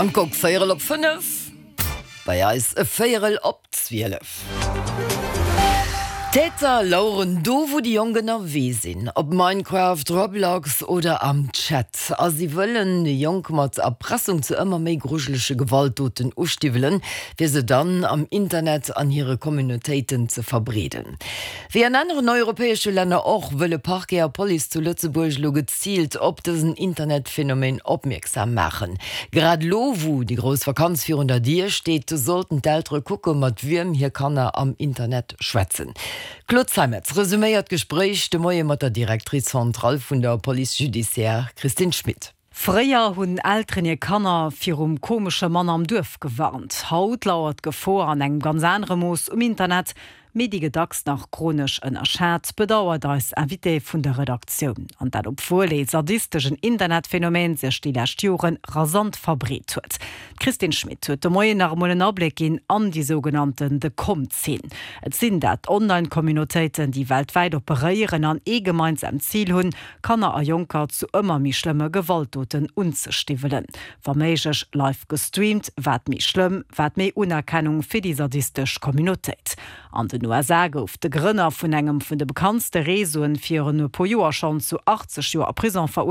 Am Kok véierel op 5, bei eis e véierel op 12. D'Täter laueren do, wou déi Jonk ënnerwee sinn, op Minecraft, Roblox oder am Chat. A si wëllen déi Jonk mat Erpressung zu ëmmer méi grujelege Gewaltdoten ustiwwelen, fir se dann am Internet an hire Communautéiten ze verbreeden. Wéi an aneren europäesche Länner och, wëlle Parquet a Police zu Lëtzebuerg elo geziilt op dësen Internetphänomen opmierksam maachen. Grad elo, wou déi grouss Vakanz virun der Dier steet, sollten d'Eltere kucke mat wiem hir Kanner am Internet schwätzen. D'Claude Zeimetz resuméiert d'Gespréich de Moie mat der Directrice centrale vun der Police judiciaire Christine Schmit. Fréier hunn Elteren hir Kanner virum komesche Mann am Duerf gewarnt. Haut lauert d'Gefor an engem ganz anere Mooss um Internet, mee déi gëtt dacks nach chronesch ënnerschat, bedauert eis Invitée vun der Redaktioun. An dat obwuel ee sadisteschen Internetphänomen sech déi lescht Jore rasant verbreet huet. D'Christine Schmit huet de Moien nach emol en Abléck ginn an déi sougenannten The Com-Zeen. Et sinn dat Online-Communautéiten, déi weltwäit operéieren an ee gemeinsamt Zil hunn, Kanner a Jonker zu ëmmer méi schlëmme Gewaltdoten unzestiwwelen. Wa méiglech live gestreamt, wat méi schlëmm, wat méi Unerkennung fir déi sadistesch Communautéit. An den USA gouf de Grënner vun engem vun de bekanntste Réseauen virun e puer Joer schonn zu 80 Joer Prison veruerteelt.